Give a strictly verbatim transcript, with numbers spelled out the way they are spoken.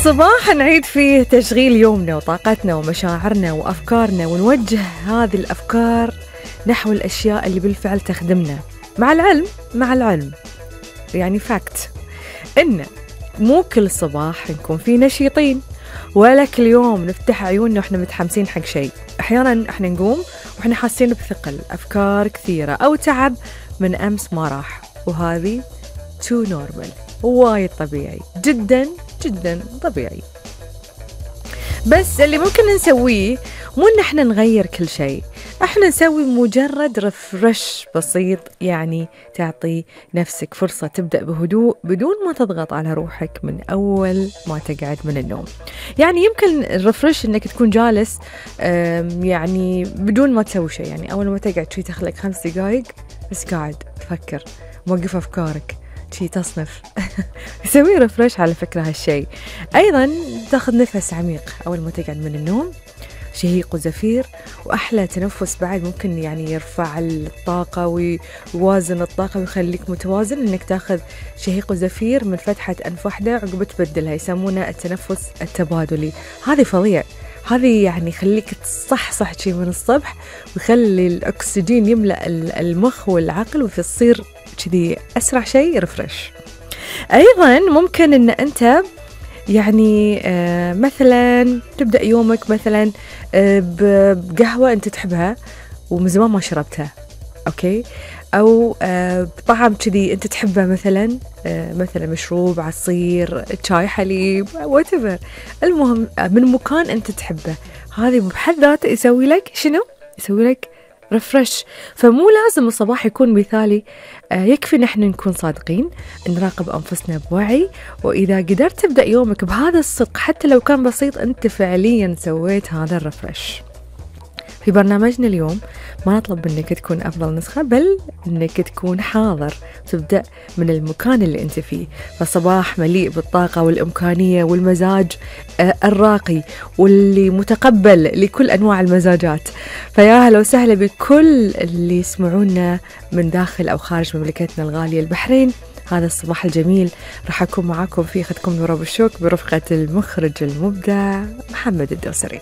صباح نعيد فيه تشغيل يومنا وطاقتنا ومشاعرنا وأفكارنا، ونوجه هذه الأفكار نحو الأشياء اللي بالفعل تخدمنا، مع العلم مع العلم يعني فاكت إن مو كل صباح نكون فيه نشيطين، ولا كل يوم نفتح عيوننا وإحنا متحمسين حق شيء. أحيانا إحنا نقوم وإحنا حاسين بثقل، أفكار كثيرة أو تعب من أمس ما راح، وهذه تو نورمال، وايد طبيعي، جدا جدا طبيعي. بس اللي ممكن نسويه مو إن احنا نغير كل شيء، احنا نسوي مجرد رفرش بسيط، يعني تعطي نفسك فرصة تبدأ بهدوء بدون ما تضغط على روحك من أول ما تقعد من النوم. يعني يمكن الرفرش إنك تكون جالس يعني بدون ما تسوي شيء، يعني أول ما تقعد شي تخلق خمس دقايق بس قاعد تفكر، موقف أفكارك شي تصنف. سوي رفرش على فكرة هالشي. أيضا تاخذ نفس عميق أول ما تقعد من النوم، شهيق وزفير، وأحلى تنفس بعد ممكن يعني يرفع الطاقة ويوازن الطاقة ويخليك متوازن، إنك تاخذ شهيق وزفير من فتحة أنف واحدة عقب تبدلها، يسمونه التنفس التبادلي. هذه فظيع، هذه يعني يخليك تصحصح شي من الصبح ويخلي الأكسجين يملأ المخ والعقل وتصير كذي أسرع شيء رفرش. أيضا ممكن إن أنت يعني آه مثلا تبدأ يومك مثلا آه بقهوة أنت تحبها ومن زمان ما شربتها، أوكي، أو آه بطعم كذي أنت تحبه، مثلا آه مثلا مشروب، عصير، شاي، حليب، whatever، المهم من مكان أنت تحبه. هذه بحد ذاته يسوي لك شنو؟ يسوي لك رفرش. فمو لازم الصباح يكون مثالي، آه يكفي نحن نكون صادقين، نراقب أنفسنا بوعي، وإذا قدرت تبدأ يومك بهذا الصدق حتى لو كان بسيط، أنت فعليا سويت هذا الرفرش. في برنامجنا اليوم ما نطلب منك تكون أفضل نسخة، بل أنك تكون حاضر، تبدأ من المكان اللي أنت فيه. فصباح مليء بالطاقة والإمكانية والمزاج الراقي واللي متقبل لكل أنواع المزاجات. فيا هلا وسهلا بكل اللي يسمعونا من داخل أو خارج مملكتنا الغالية البحرين. هذا الصباح الجميل راح أكون معاكم في خدكم نورا بالشوك برفقة المخرج المبدع محمد الدوسري.